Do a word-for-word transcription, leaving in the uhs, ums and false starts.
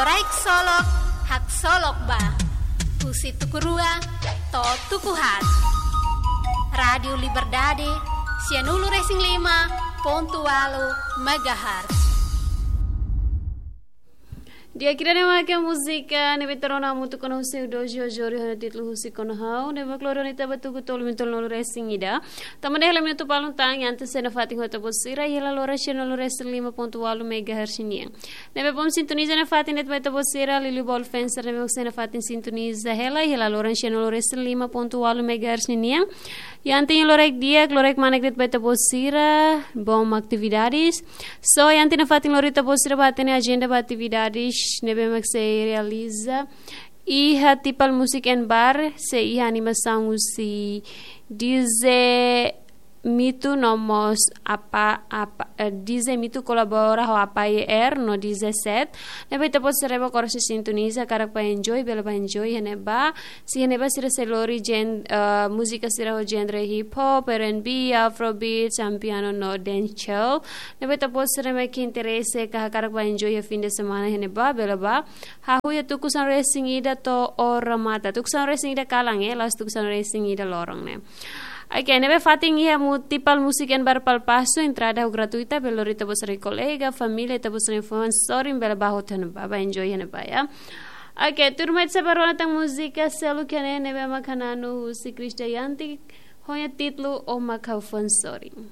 Loraik solok, haksolok ba. Husi tuku rua to'o tuku haat. Rádiu Liberdade, sianulu-resin-lima pontu ualu megahertz. Di'ak, ida-ne'e mak múzika ne'ebé ita rona hamutuk ona husi Dojo Jori ho títulu Husik ona Ha'u, ne'ebé mak lori ona ita ba tuku tolunulu-resin-ida. Tanba ne'e hela minutu balun tan, iha antes nafatin ho ita-boot sira iha loron sianulu-resin-lima pontu ualu megahertz nian. Ne'ebé bom sintoniza nafatin de'it ba ita-boot sira, liuliu ba ita-boot sira ne'ebé mak sei nafatin sintoniza hela iha loron sianulu-resin-lima pontu ualu megahertz nian. Iha antes loraik di'ak, loraik manek de'it ba ita-boot sira, bom atividades. So, iha antes nafatin lori ita-boot sira ba hatene ajenda ba atividades ne'ebé mak sei realiza iha Tipal Music and Bar, sei iha animasaun husi D J Mitu no mós Apa, Apa, eh, D J Mitu kolabora ho Apa Y R no D J Set. Ne'ebé ita-boot sira ne'ebé mak sei sintoniza, hakarak ba enjoy, bele ba enjoy iha ne'ebá. Se iha ne'ebá sira sei lori gen-, eh, múzika sira ho genre hip hop, R and B, afrobeats, amapiano no dancehall. Ne'ebé ita-boot sira ne'ebé ke interese ka hakarak ba enjoy iha fim de semana iha ne'ebá, bele ba. Hahú iha tuku sanulu-resin-ida to'o remata. Tuku sanulu-resin-ida kalan, eh, la'ós tuku sanulu-resin-ida loron ne'e. Oke, ne'ebé fatin iha mu-, Tipal Music and Bar Palpaso, entrada ho gratuita, bele lori ita-boot sira-nia kolega, família, ita-boot sira-nia fans, sorin bele ba hotu iha ne'ebá, ba enjoy iha ne'ebá, ya. Oke, tuirmai ita sei bá rona tan múzika seluk iha ne'e, ne'ebé mak hananu husi Chris Dayanti, ho nia títulu O Mak Ha'u Fó Sorin.